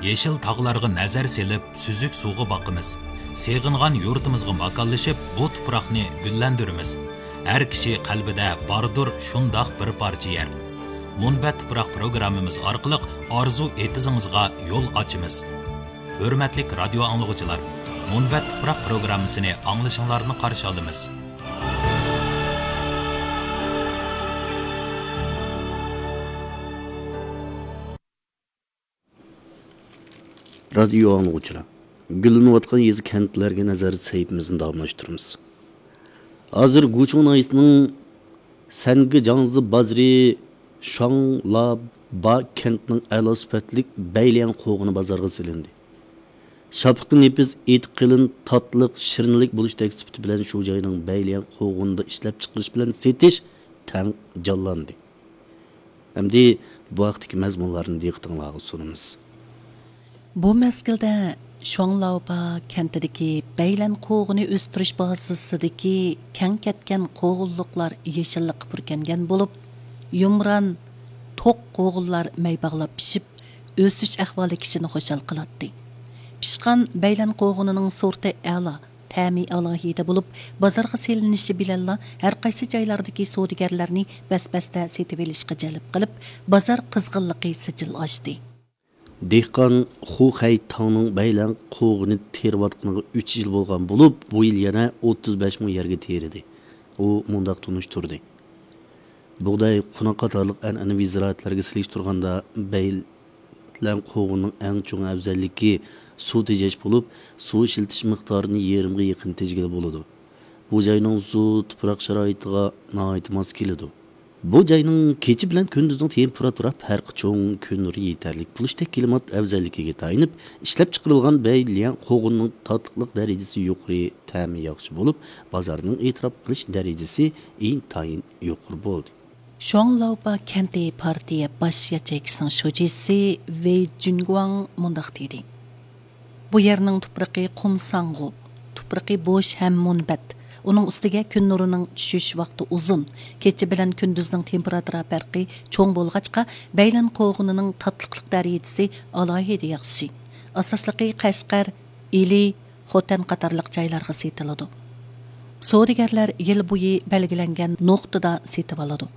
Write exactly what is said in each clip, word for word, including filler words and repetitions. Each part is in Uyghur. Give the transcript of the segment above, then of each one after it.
يېشىل تاغلارغا نەزەر سېلىپ، سۈزۈك سۇغا باقىمىز. سېغىنغان يۇرتىمىزغا ماكانلىشىپ، بۇ تۇپراقنى گۈللەندۈرىمىز. ھەر كىشى قەلبىدە باردۇر شۇنداق بىر پارچە يەر. مۇنبەت تۇپراق پروگراممىمىز ئارقىلىق ئارزۇ ئېتىزىڭىزغا يول ئاچىمىز. ھۆرمەتلىك رادىيو ئاڭلىغۇچىلار، مۇنبەت تۇپراق پروگراممىسىنى ئاڭلىشىڭلارنى قارشى ئالىمىز. رادىيو ئاڭلىغۇچىلار، گۈللىنىۋاتقان يېزا كەنتلەرگە نەزەر سەھىپىمىزنى داۋاملاشتۇرىمىز. ھازىر گۇچۇڭ ناھىيەسىنىڭ سەنگى جاڭزى بازىرى شاڭلابا كەنتىنىڭ ئەلا سۈپەتلىك بەيليەڭ قوغۇنى بازارغا سېلىندى. شاپىقى نېپىز، ئېتى قېلىن، تاتلىق، شىرنىلىك بولۇشتەك سۈپىتى بىلەن شۇ جاينىڭ بەيليەڭ قوغۇنىدا ئىشلەپچىقىرىش بىلەن سېتىش تەڭ جانلاندى. ئەمدى بۇ ھەقتىكى مەزمۇنلارنى دىققىتىڭلارغا سۇنىمىز. بۇ مەزگىلدە شۇاڭلاۋپا كەنتىدىكى بەيلەن قوغۇنى ئۆستۈرۈش بازىسىدىكى كەڭ كەتكەن قوغۇنلۇقلار يېشىللىققا پۈركەنگەن بولۇپ، يۇمران، توق قوغۇنلار مەي باغلاپ پىشىپ، ئۆسۈش ئەھۋالى كىشىنى خۇشال قىلاتتى. پىشقان بەيلەن قوغۇنىنىڭ سورتى ئەلا، تەمى ئالاھىدە بولۇپ، بازارغا سېلىنىشى بىلەنلا ھەرقايسى جايلاردىكى سودىگەرلەرنى بەس-بەستە سېتىۋېلىشقا جەلپ قىلىپ، بازار قىزغىنلىقى سىجىل ئاشتى. دېھقان خۇ خەي تاڭنىڭ بەيلەن قوغۇنى تېرىۋاتقىنىغا ئۈچ يىل بولغان بولۇپ، بۇ يىل يەنە ئوتتۇز بەش مو يەرگە تېرىدى. ئۇ مۇنداق تونۇشتۇردى: بۇغداي، قوناق قاتارلىق ئەنئەنىۋى زىرائەتلەرگە سېلىشتۇرغاندا، بەيلەن قوغۇننىڭ ئەڭ چوڭ ئەۋزەللىكى سۇ تېجەش بولۇپ، سۇ ئىشلىتىش مىقدارىنى يېرىمغا يېقىن تېجىگىلى بولىدۇ. بۇ جاينىڭ سۇ تۇپراق شارائىتىغا ناھايىتى ماس كېلىدۇ. بۇ جاينىڭ كېچە بىلەن كۈندۈزنىڭ تېمپېراتۇرا پەرقى چوڭ، كۈن نۇرى يېتەرلىك بولۇشتەك كىلىمات ئەۋزەللىكىگە تايىنىپ ئىشلەپچىقىرىلغان بەيليەن قوغۇننىڭ تاتلىقلىق دەرىجىسى يۇقىرى، تەمى ياخشى بولۇپ، بازارنىڭ ئېتىراپ قىلىش دەرىجىسى ئىنتايىن يۇقىرى بولدى. شۇاڭلاۋپا كەنتى پارتىيە باش ياچېيكىسىنىڭ شۇجىسى ۋېي جۈنگۇاڭ مۇنداق دېدى: بۇ يەرنىڭ تۇپرىقى قۇم ساڭغۇ، تۇپرىقى بوش ھەم مۇنبەت. ئۇنىڭ ئۈستىگە كۈن نۇرىنىڭ چۈشۈش ۋاقتى ئۇزۇن، كېچە بىلەن كۈندۈزنىڭ تېمپېراتۇرا پەرقى چوڭ بولغاچقا، بەيلەن قوغۇنىنىڭ تاتلىقلىق دەرىجىسى ئالاھىدە ياخشى. ئاساسلىقى قەشقەر، ئىلى، خوتەن قاتارلىق جايلارغا سېتىلىدۇ. سودىگەرلەر يىل بويى بەلگىلەنگەن نۇقتىدا سېتىۋالىدۇ.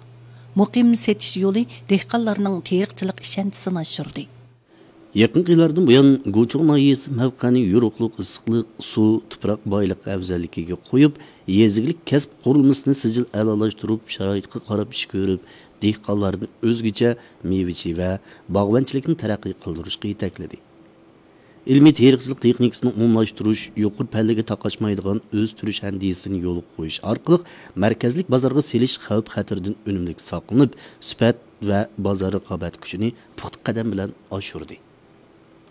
مۇقىم سېتىش يولى دېھقانلارنىڭ تېرىقچىلىق ئىشەنچىسىنى ئاشۇردى. يېقىنقى يىللاردىن بۇيان، گۇچۇڭ ناھىيەسى مەۋقەنىڭ يورۇقلۇق، ئىسسىقلىق، سۇ، تۇپراق بايلىقى ئەۋزەللىكىگە قويۇپ، يېزا ئىگىلىك كەسىپ قۇرۇلمىسىنى سىجىل ئەلالاشتۇرۇپ، شارائىتقا قاراپ ئىش كۆرۈپ، دېھقانلارنى ئۆزگىچە مېۋىچى ۋە باغۋەنچىلىكنى تەرەققىي قىلدۇرۇشقا يېتەكلىدى. ئىلمىي تېرىقچىلىق تېخنىكىسىنى ئومۇملاشتۇرۇش، يۇقىرى پەللىگە تاقاشمايدىغان ئۆستۈرۈش ئەندىزىسىنى يولغا قويۇش ئارقىلىق، مەركەزلىك بازارغا سېلىش خەۋپ-خەتىرىدىن ئۈنۈملۈك ساقلىنىپ، سۈپەت ۋە بازار رىقابەت كۈچىنى پۇختا قەدەم بىلەن ئاشۇردى.